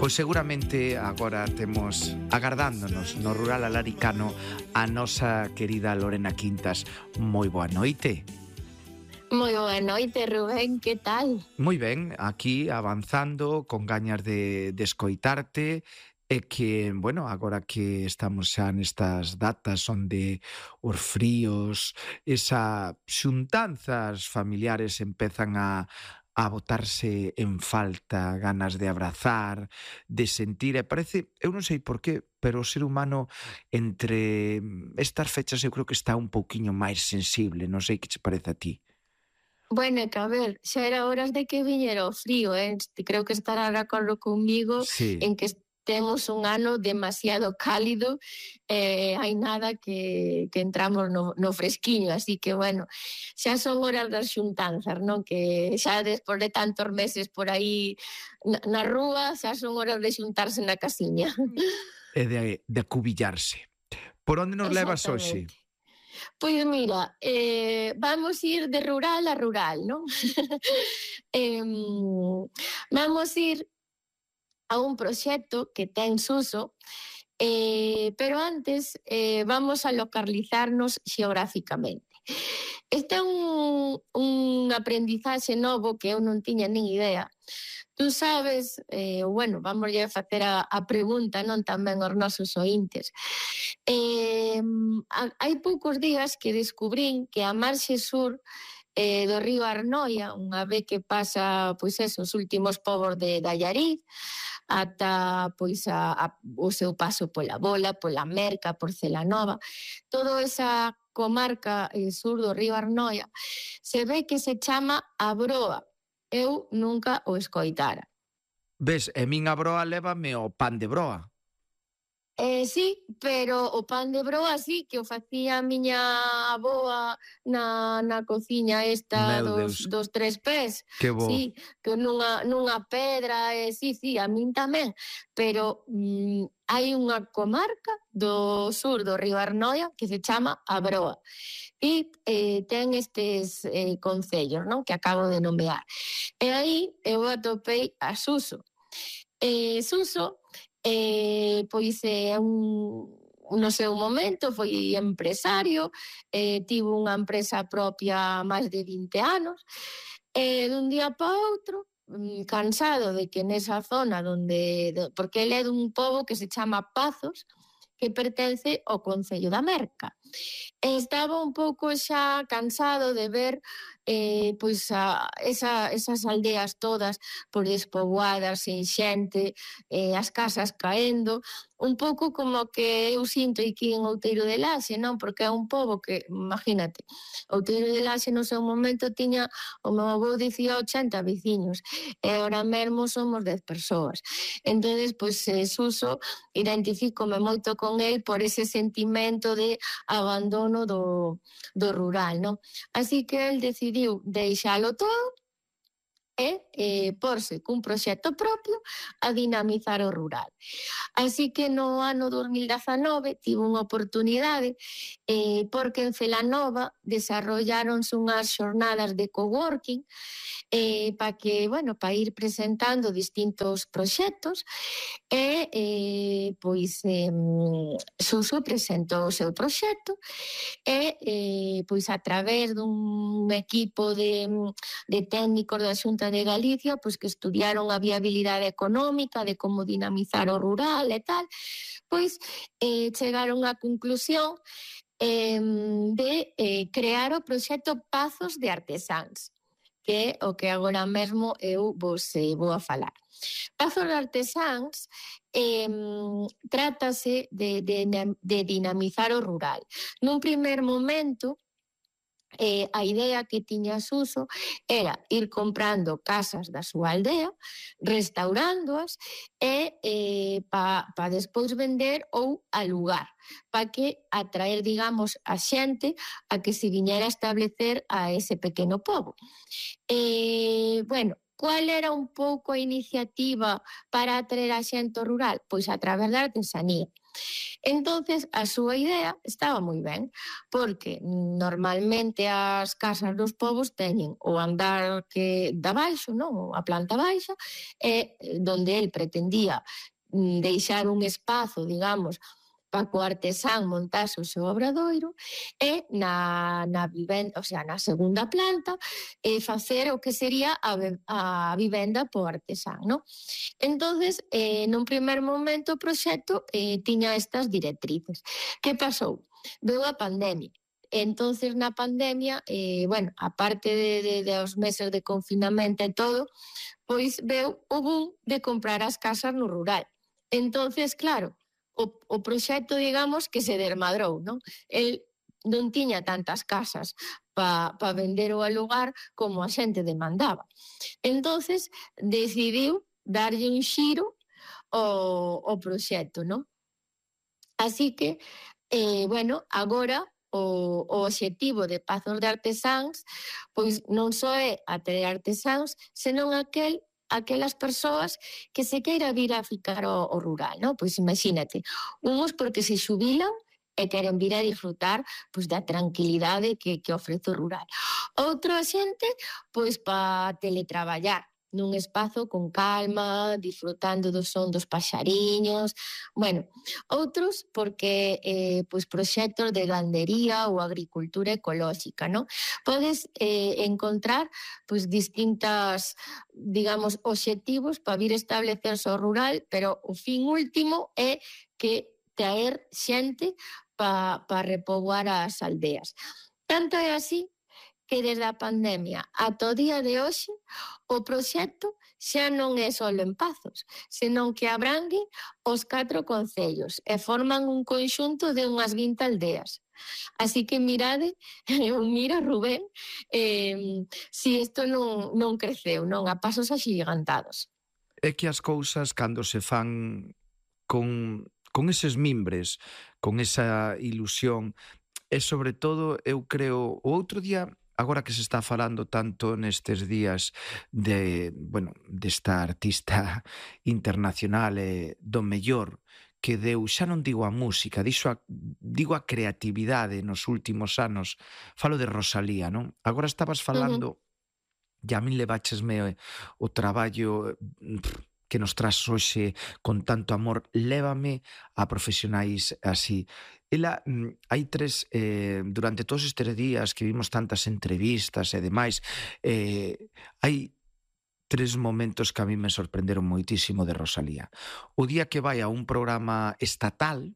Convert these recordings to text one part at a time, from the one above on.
Pois seguramente agora temos agardándonos no rural alaricano a nosa querida Lorena Quintas. Moi boa noite. Moi boa noite, Rubén, que tal? Moi ben, aquí avanzando con gañas de escoitarte e que, bueno, agora que estamos xa nestas datas onde os fríos, esa xuntanzas familiares empezan a botarse en falta, ganas de abrazar, de sentir, e parece, eu non sei por qué, pero o ser humano entre estas fechas eu creo que está un pouquiño máis sensible, non sei que che parece a ti. Bueno, que a ver, xa era horas de que viñera o frío, creo que estará de acordo comigo Sí. en que temos un ano demasiado cálido, hai nada que entramos no fresquiño, así que, bueno, xa son horas das xuntanzas, non? Que xa despois de tantos meses por aí na rúa, xa son horas de xuntarse na casiña. E de acubillarse. Por onde nos levas hoxe? Exactamente. Pois mira, vamos ir de rural a rural, non? Vamos ir a un proxecto que ten Suso, pero antes vamos a localizarnos xeográficamente. Este é un aprendizaxe novo que eu non tiña nin idea. Tú sabes, bueno, vamos a facer a pregunta, non, tamén aos nosos ointes. Hai poucos días que descubrín que a marxe sur do río Arnoia, unha vez que pasa, pois os últimos povos de Allariz, ata pois o seu paso pola Bola, pola Merca, por Celanova, toda esa comarca sur do río Arnoia, se ve que se chama a Broa. Eu nunca o escoitara. Ves, e min a broa lévame o pan de broa. Sí, pero o pan de broa sí, que o facía a miña avoa na cociña esta dos tres pés. Que bo. Sí, que nunha pedra, sí, a min tamén. Pero hai unha comarca do sur do río Arnoia que se chama a Broa. E ten estes concellos, non, que acabo de nomear. E aí eu atopei a Suso. Suso pois no seu momento foi empresario, tivo unha empresa propia máis de 20 anos, e dun día para outro, cansado de que nesa zona porque ele é dun pobo que se chama Pazos, que pertence ao concello da Merca. Estaba un pouco xa cansado de ver pois esas aldeas todas despoboadas, sen xente, as casas caendo, un pouco como que eu sinto aquí en Outeiro de Laxe, non? Porque é un pobo que, imagínate, Outeiro de Laxe no seu momento tiña, o meu avó dicía 80 veciños, e ahora mesmo somos 10 persoas. Entonces, pois, Suso, identifícome moito con el por ese sentimento de abandono do rural, non? Así que el decidiu deixalo todo e porse cun proxecto propio a dinamizar o rural. Así que no ano 2019 tivo unha oportunidade porque en Celanova desarrolláronse unhas xornadas de coworking para que, bueno, para ir presentando distintos proxectos e pois Suso presentou o seu proxecto e pois a través dun equipo de técnicos da Xunta de Galicia, pois que estudiaron a viabilidade económica de como dinamizar o rural e tal, pois chegaron á conclusión de crear o proxecto Pazos de Artesáns, que é o que agora mesmo eu vos vou a falar. Pazos de Artesáns trátase de dinamizar o rural. Nun primer momento, a idea que tiña Suso era ir comprando casas da súa aldea, restaurándoas e para despois vender ou alugar, para que atraer, digamos, a xente a que se viñera a establecer a ese pequeno pobo. Bueno, cual era un pouco a iniciativa para atraer a xente ao rural? Pois a través da artesanía. Entonces, a súa idea estaba moi ben, porque normalmente as casas dos povos teñen o andar que da baixo, non? A planta baixa, e donde el pretendía deixar un espazo, digamos, para que o artesán montase o seu obradoiro, e na vivenda, o sea, na segunda planta, facer o que sería a vivenda po artesán, non? Entonces, nun primer momento o proxecto tiña estas directrices. Que pasou? Veu a pandemia. Entonces, na pandemia, bueno, aparte dos meses de confinamento e todo, pois veu o boom de comprar as casas no rural. Entonces, claro, o proxecto, digamos, que se desmadrou, non? El non tiña tantas casas para vender ou alugar como a xente demandaba. Entonces, decidiu darlle un xiro ao proxecto, non? Así que, bueno, agora o obxectivo de Pazos de Artesáns pois non só é atraer artesáns, senón aquelas persoas que se queira vir a ficar ao rural, non? Pois imagínate, uns porque se xubilan e queren vir a disfrutar pois da tranquilidade que ofrece o rural. Outra xente, pois para teletraballar nun espazo con calma, disfrutando do son dos paxariños. Bueno, outros porque pois proxectos de gandería ou agricultura ecolóxica, non? Podes encontrar pois distintas, digamos, obxectivos para vir establecerse ao rural, pero o fin último é que traer xente para repoboar as aldeas. Tanto é así que desde a pandemia ata o día de hoxe o proxecto xa non é só en Pazos, senón que abrangue os 4 concellos e forman un conxunto de unhas 20 aldeas. Así que mirade, mira Rubén, si isto non creceu, non, a pasos axigantados. É que as cousas, cando se fan con eses mimbres, con esa ilusión, e sobre todo, eu creo, o outro día, agora que se está falando tanto nestes días desta artista internacional e do mellor que deu, xa non digo a música, digo a creatividade nos últimos anos, falo de Rosalía, non? Agora estabas falando, e a min leváchesme o traballo que nos tras hoxe con tanto amor, lévame a profesionais así. Ela, hai durante todos estes días que vimos tantas entrevistas e demais, hai 3 momentos que a mí me sorprenderon moitísimo de Rosalía. O día que vai a un programa estatal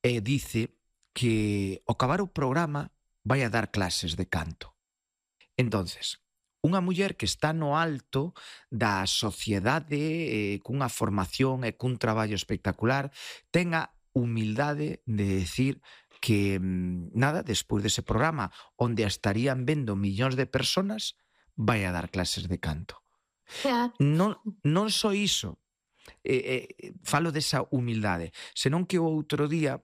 e dice que ao acabar o programa vai a dar clases de canto. Entonces, unha muller que está no alto da sociedade, cunha formación e cun traballo espectacular, ten a humildade de decir que, despois dese programa, onde a estarían vendo millóns de personas, vai a dar clases de canto. Non só iso, falo desa humildade, senón que o outro día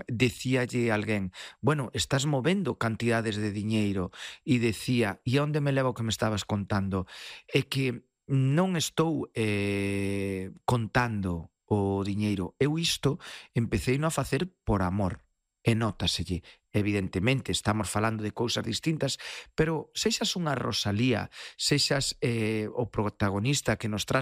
decíalle alguén, bueno, estás movendo cantidades de diñeiro, e decía, e onde me leva o que me estabas contando? É que non estou contando o diñeiro, eu isto empecei a facer por amor, e nótaselle. Evidentemente, estamos falando de cousas distintas, pero sexas unha Rosalía, sexas o protagonista que nos traz